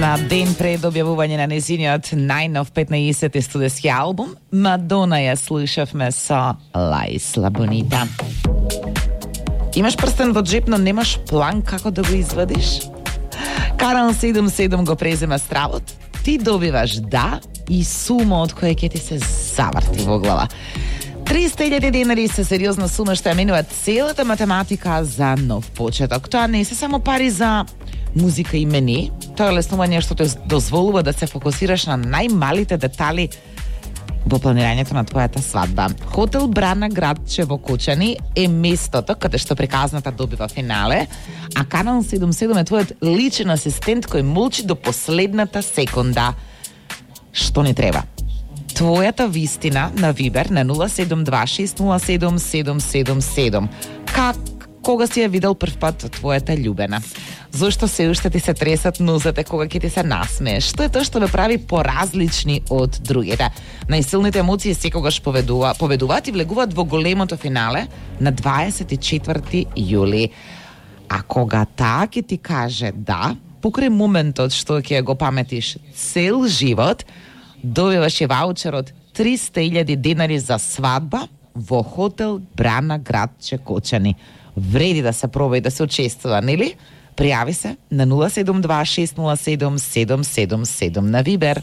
На ден пред објавување на незиниот најнов 15-ти студиски албум, Мадона ја слушавме со La Isla Bonita. Имаш прстен во джеп, но немаш план како да го извадиш? Карал 77 го презема стравот, ти добиваш да и сума од која ќе ти се заврти во глава. 300.000 денари се сериозна сума што ја менува целата математика за нов почеток. Тоа не се само пари за музика и мени, тоа е леснување што те дозволува да се фокусираш на најмалите детали во планирањето на твојата свадба. Хотел Брана градче во Кочани е местото каде што приказната добива финале, а Канал 77 е твојот личен асистент кој молчи до последната секунда. Што ни треба? Твојата вистина на Вибер на 072607777. Кога си ја видел прв пат твојата љубена? Зошто се уште ти се тресат нозете кога ќе ти се насмее? Што е тоа што ве прави поразлични од другите? Најсилните емоции секогаш победуваат и влегуваат во големото финале на 24 јули. А кога таа ќе ти каже да, покрај моментот што ќе го паметиш цел живот, добиваш и ваучер од 300.000 денари за свадба во хотел Брана градче Кочани. Вреди да се проба и да се учествува, нели? Пријави се на 072607777 на Вибер.